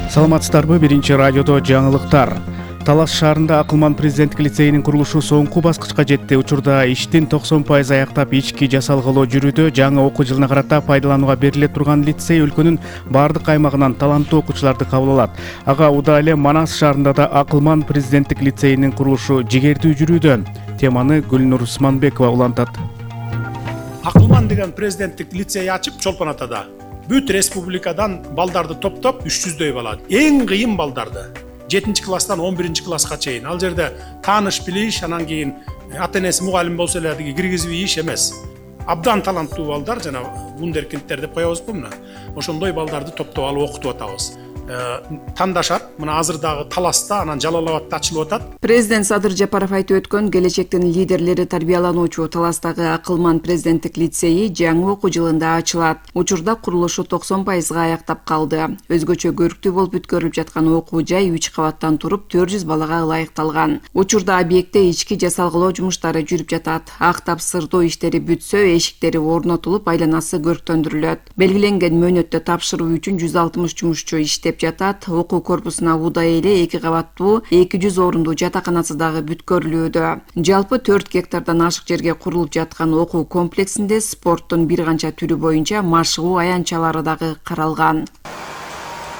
Саламатсыздарбы, биринчи радиодо жаңылыктар. Талас шаарында Акылман президенттик лицейинин курулушу соңку баскычка жетти. Учурда иштин 90% аяктап ички жасалгылоо жүрүүдө. Жаңы окуу жылына карата пайдаланууга бериле турган лицей өлкөнүн бардык аймагынан таланттуу окуучуларды кабыл алат. Ага удаа эле Манас шаарында да Акылман президенттик лицейинин курулушу жигердүү жүрүүдө. Теманы Гүлнур Усманбекова улантат. Акылман деген президенттик лицей ачып Чолпон Атада бүт республикадан балдарды топтоп 300дөй бала. Эң кыйын балдарды 7 класстан 11 класска чейин. Ал жерде тааныш билиш, анан кийин ата-энеси мугалим болсо эле киргизип ийиш эмес. Абдан таланттуу балдар, жана вундеркиндтер деп коебузбу мына. Ошондой балдарды топтоп алып окутуп атабыз. Тандашат. Мына азыр дагы Таласта, анан Жалал-Абадта ачылып атат. Президент Садыр Жапаров айтып өткөн келечектин лидерлери тарбиялануучу Таластагы Акылман президенттик лицейи жаңы окуу жылында ачылат. Учурда курулушу 90%га аяктап калды. Өзгөчө көрктүү болуп бүткөрүлүп жаткан окуу жай 3 кабаттан туруп 400 балага ылайыкталган. Учурда объектте ички жасалгылоо жумуштары жүрүп жатат. Актап сырдоо иштери бүтсө, эшиктери орнотулуп, айланасы көрктөндүрүлөт. Белгиленген мөөнөттө тапшыруу үчүн 160 жумушчу иштеп жатат. Окуу корпусуна удаа эле 2 кабаттуу 200 орундуу жатаканасы дагы бүткөрүлүүдө. Жалпы 4 гектардан ашык жерге курулуп жаткан окуу комплексинде спорттун бир канча түрү боюнча машыгуу аянтчалары дагы каралган.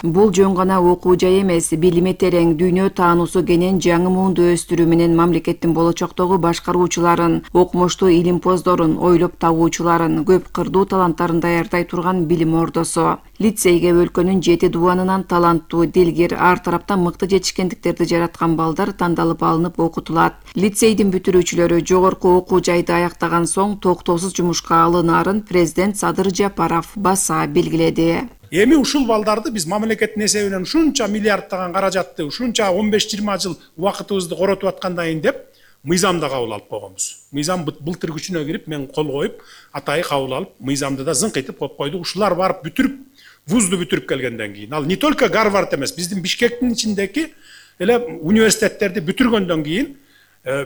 Бул жөн гана окуу жай эмес, билими терең, дүйнө таануусу кенен жаңы муунду өстүрүү менен мамлекеттин болочоктогу башкаруучуларын, окумуштуу илимпоздорун, ойлоп табуучуларын, көп кырдуу таланттарын даярдай турган билим ордосу. Лицейге өлкөнүн 7 дубанынан таланттуу, дилгер, ар тараптан мыкты жетишкендиктерди жараткан балдар тандалып алынып окутулат. Лицейдин бүтүрүүчүлөрү жогорку окуу жайды аяктаган соң токтоосуз жумушка алынаарын президент Садыр Жапаров баса белгиледи. Эми ушул балдарды биз мамлекеттин эсебинен ушунча миллиардтаган каражатты, ушунча 15-20 жыл убакытыбызды коротуп аткандан кийин деп мыйзамда кабыл алып койгонбуз. Мыйзам былтыр күчүнө кирип, мен кол коюп, атайы кабыл алып, мыйзамды да зыңкыйтып коюп койдук. Ушулар барып бүтүрүп, вузду бүтүрүп келгенден кийин, ал не только Гарвард эмес, биздин Бишкектин ичиндеги эле университеттерди бүтүргөндөн кийин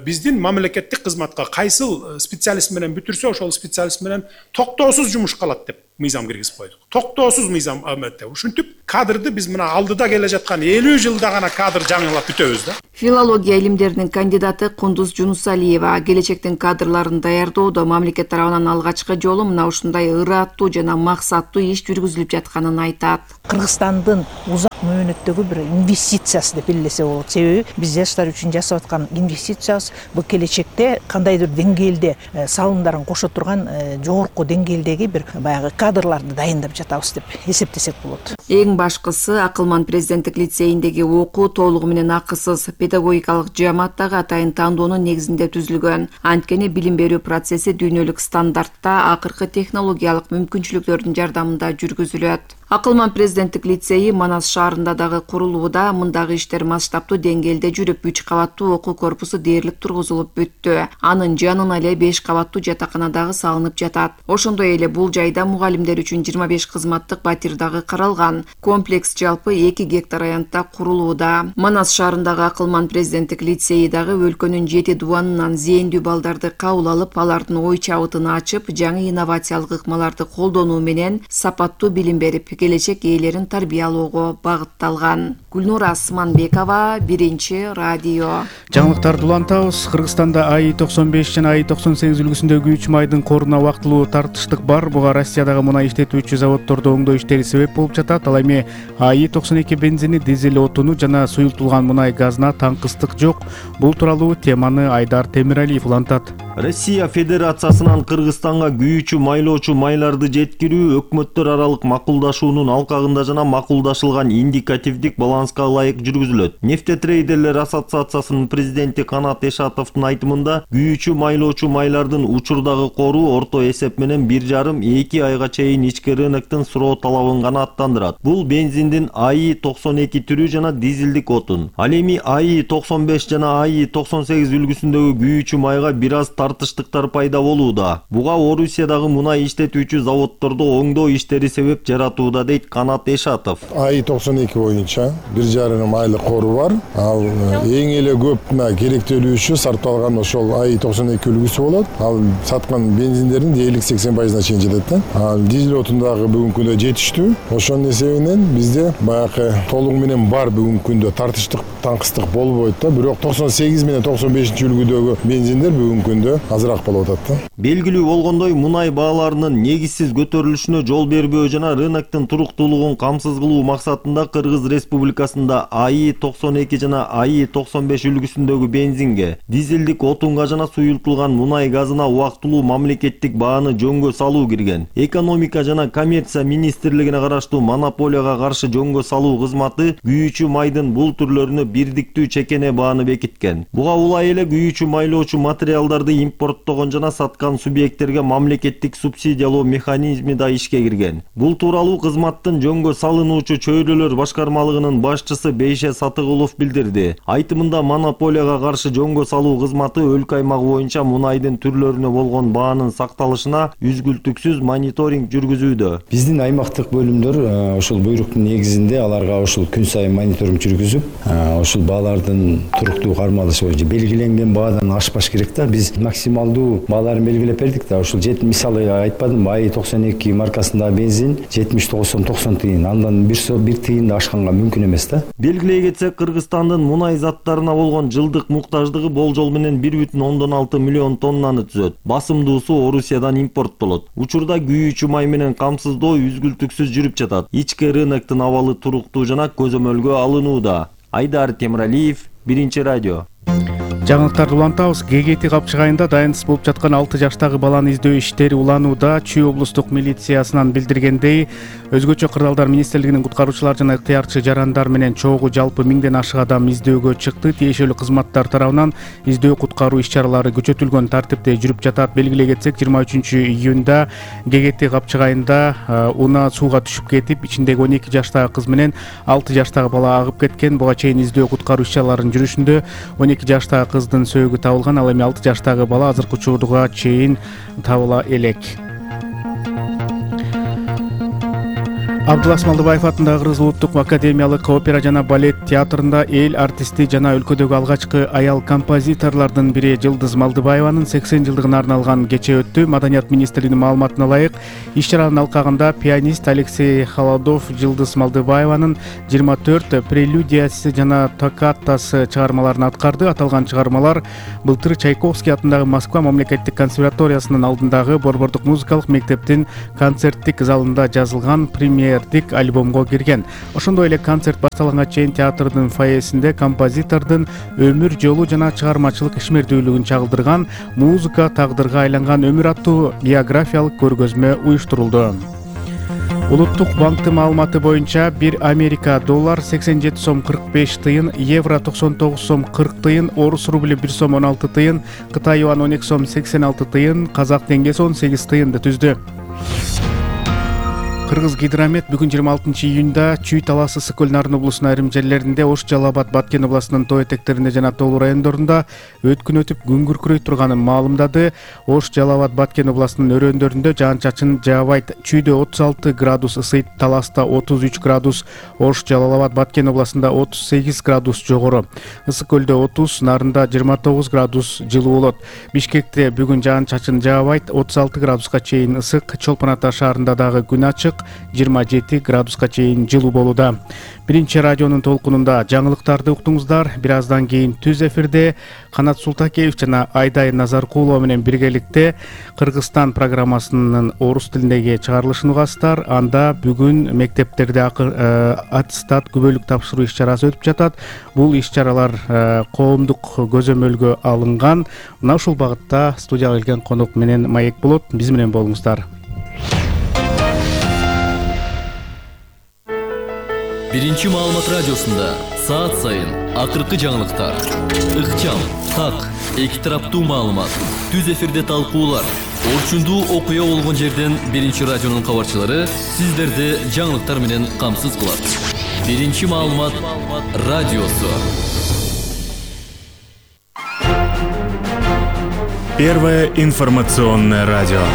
биздин мамлекеттик кызматка кайсыл специалист менен бүтүрсө, ошол специалист менен токтоосуз жумушка алат деп мыйзам киргизип койдук. Токтоосуз мыйзам аметте. Ушинтип кадрды биз мына алдыда келе жаткан 50 жылда гана кадр жаңылап бүтөбүз да. Филология илимдеринин кандидаты Кундуз Жунусалиева келечектин кадрларын даярдоодо мамлекет тарабынан алгачкы жолу мына ушундай ыраттуу жана максаттуу иш жүргүзүлүп жатканын айтат. Кыргызстандын узак мөөнөттөгү бир инвестициясы деп билесе болот. Себеби биз жаштар үчүн жасап аткан инвестициябыз бул келечекте кандайдыр деңгээлде салымдарын кошо турган жогорку деңгээлдеги бир баягы кадрларды дайындап жатабыз деп эсептесек болот. Эң башкысы Акылман президенттик лицейиндеги окуу толугу менен акысыз, педагогикалык жаамат дагы атайын тандоонун негизинде түзүлгөн. Анткени билим берүү процесси дүйнөлүк стандартта акыркы технологиялык мүмкүнчүлүктөрдүн жардамында жүргүзүлөт. Акылман президенттик лицейи Манас шаарында дагы курулууда. Мындагы иштер масштабтуу деңгээлде жүрүп, 3 кабаттуу окуу корпусу дээрлик тургузулуп бүттү. Анын жанына эле 5 кабаттуу жатакана дагы салынып жатат. Ошондой эле бул жайда мугалимдер үчүн 25 кызматтык батир дагы каралган. Комплекс жалпы 2 гектар аянтта курулууда. Манас шаарындагы Акылман президенттик лицейи дагы өлкөнүн 7 дубанынан зээндүү балдарды кабыл алып, алардын ой чабытын ачып, жаңы инновациялык ыкмаларды колдонуу менен сапаттуу билим берип, келечек ээлерин тарбиялоого багытталган. Гүлнур Усманбекова, биринчи радио. Жаңылыктарды улантабыз. Кыргызстанда АИ-95 жана АИ-98 үлгүсүндөгү 3 майдын коруна убактылуу тартыштык бар. Буга Россиядагы мунай иштетүүчү заводдордо оңдоо иштери себеп болуп жатат. Ал эми АИ-92 бензини, дизель отуну жана суюлтулган мунай газына таңкыстык жок. Бул тууралуу теманы Айдар Темиралиев улантат. Россия Федерациясынан Кыргызстанга күйүүчү майлоочу майларды жеткирүү өкмөттөр аралык макулдашуунун алкагында жана макулдашылган индикативдик баланска ылайык жүргүзүлөт. Нефтетрейдерлер ассоциациясынын президенти Канат Эшатовдун айтымында, күйүүчү майлоочу майлардын учурдагы кору орто эсеп менен 1,5-2 айга чейин ички рыноктун суроо талабын гана аттандырат. Бул бензиндин АИ-92 түрү жана дизелдик отун. Ал эми АИ-95 жана АИ-98 үлгүсүндөгү күйүүчү майга бир аз тартыштыктар пайда болууда. Буга Орусиядагы мунай иштетүүчү заводдордо оңдоо иштери себеп жаратууда дейт Канат Эшатов. АИ-92 боюнча 1,5 айлык кору бар. Ал эң эле көп керектелүүчү сарпталган ошол АИ-92 үлгүсү болот. Ал саткан бензиндердин дээрлик 80%-на чейин жетет да. Дизель отундагы бүгүнкү күндө жетиштүү. Ошонун эсебинен бизде баягы толугу менен бар бүгүнкү күндө тартыштык таңкыстык болбойт да. Бирок 98 менен 95-үлгүдөгү бензиндер бүгүнкү күндө азыраак болуп атат да. Белгилүү болгондой, мунай бааларынын негизсиз көтөрүлүшүнө жол бербөө жана рыноктун туруктуулугун камсыз кылуу максатында Кыргыз Республикасында АИ-92 жана АИ-95 үлгүсүндөгү бензинге, дизелдик отунга жана суюлтулган мунай газына убактылуу мамлекеттик бааны жөнгө салуу кирген. Экономика жана коммерция министрлигине караштуу монополияга каршы жөнгө салуу кызматы күйүүчү майдын бул түрлөрүнө бирдиктүү чекене бааны бекиткен. Буга улай эле күйүүчү майлоочу материалдарды импорттогон жана саткан субъекттерге мамлекеттик субсидиялоо механизми да ишке кирген. Бул тууралуу кызматтын жөнгө салынуучу чөйрөлөр башкармалыгынын башчысы Бейше Сатыгулов билдирди. Айтымында монополияга каршы жөнгө салуу кызматы өлкө аймагы боюнча мунайдын түрлөрүнө болгон баанын сакталышына үзгүлтүксүз мониторинг жүргүзүүдө. Биздин аймактык бөлүмдөр ошол буйруктун негизинде аларга ошол күн сайын мониторинг жүргүзүп, ошол баалардын туруктуу кармалышы боюнча белгиленген баадан ашпаш керек да. Биз максималдуу бааларын белгилеп бердик да. Ошол мисалы айтпадым, АИ-92 маркасындагы бензин 79 сом 90 тыйын, андан бир тыйын да ашканга мүмкүн эмес да. Белгилей кетсек, Кыргызстандын мунай заттарына болгон жылдык муктаждыгы болжол менен 1,6 миллион тоннаны түзөт. Басымдуусу Орусиядан импорттолот. Учурда күйүүчү май менен камсыздоо үзгүлтүксүз жүрүп жатат. Ички рыноктун абалы туруктуу жана көзөмөлгө алынууда. Айдар Темиралиев, Биринчи радио. Жаңылыктарды улантабыз. ГГТ капчыгайында дайынсыз болуп жаткан 6 жаштагы баланы издөө иштери уланууда. Чүй облустук милициясынан билдиргендей, өзгөчө кырдаалдар министрлигинин куткаруучулар жана ыктыярчы жарандар менен чогуу жалпы 1000ден ашык адам издөөгө чыкты. Тиешелүү кызматтар тарабынан издөө куткаруу иш-чаралары күчөтүлгөн тартипте жүрүп жатат. Белгилей кетсек, 23-июнда ГГТ капчыгайында унаа сууга түшүп кетип, ичиндеги 12 жаштагы кыз менен 6 жаштагы бала агып кеткен. Буга чейин издөө куткаруу иш-чараларынын жүрүшүндө 12 жаштагы кыздын сөөгү табылган, ал эми 6 жаштагы бала азыркы учурга чейин табыла элек. Абдулас Малдыбаев атындагы Кыргыз улуттук академиялык опера жана балет театрында эл артисти жана өлкөдөгү алгачкы аял композиторлордун бири Жылдыз Малдыбаеванын 80 жылдыгына арналган кече өттү. Маданият министрлигинин маалыматына ылайык, иш-чаранын алкагында пианист Алексей Холодов Жылдыз Малдыбаеванын 24 прелюдиясы жана токкатасы чыгармаларын аткарды. Аталган чыгармалар былтыр Чайковский атындагы Москва мамлекеттик консерваториясынын алдындагы Борбордук музыкалык мектептин концерттик залында жазылган премьер альбомго кирген. Ошондой эле концерт башталганга чейин театрдын фойесинде композитордун өмүр жолу жана чыгармачылык ишмердүүлүгүн чагылдырган «Музыка тагдырга айланган өмүр» аттуу биографиялык көргөзмө уюштурулду. Улуттук банктын маалыматы боюнча 1 Америка доллар 87 сом 45 тыйын, евро 99 сом 40 тыйын, орус рубли 1 сом 16 тыйын, Кытай юан 12 сом 86 тыйын, казак теңгеси 18 тыйынды түздү. Кыргыз гидромет бүгүн 26-июнда Чүй, Талас, Ысык көл, Нарын облусунун айрым жерлеринде, Ош, Жалал Абад, Баткен областынын тоо этектеринде жана тоолуу райондорунда өткүн өтүп күн күркүрөй турганын маалымдады. Ош, Жалал Абад, Баткен областынын өрөөндөрүндө жаан-чачын жаабайт. Чүйдө 36 градус ысыйт, Таласта 33 градус, Ош, Жалал Абад, Баткен областында 38 градус жогору. Ысык көлдө 30, Нарында 29 градус жылуу болот. Бишкекте бүгүн жаан-чачын жаабайт, 36 градуска чейин ысык. Чолпон Ата шаарында дагы күн ачык, 27 градуска чейин жылуу болууда. Биринчи радионун толкунунда жаңылыктарды уктуңуздар. Бир аздан кийин түз эфирде Канат Султакеев жана Айдай Назаркулова менен биргеликте Кыргызстан программасынын орус тилиндеги чыгарылышын угасыздар. Анда бүгүн мектептерде аттестат күбөлүк тапшыруу иш-чарасы өтүп жатат. Бул иш-чаралар коомдук көзөмөлгө алынган. Мына ушул багытта студияга келген конок менен маек болот. Биз менен болуңуздар. Биринчи маалымат радиосунда саат сайын акыркы жаңылыктар, ыкчам, так, эки тараптуу маалымат, түз эфирде талкуулар, орчундуу окуя болгон жерден Биринчи радионун кабарчылары сиздерди жаңылыктар менен камсыз кылат. Биринчи маалымат радиосу. Первое информационное радио.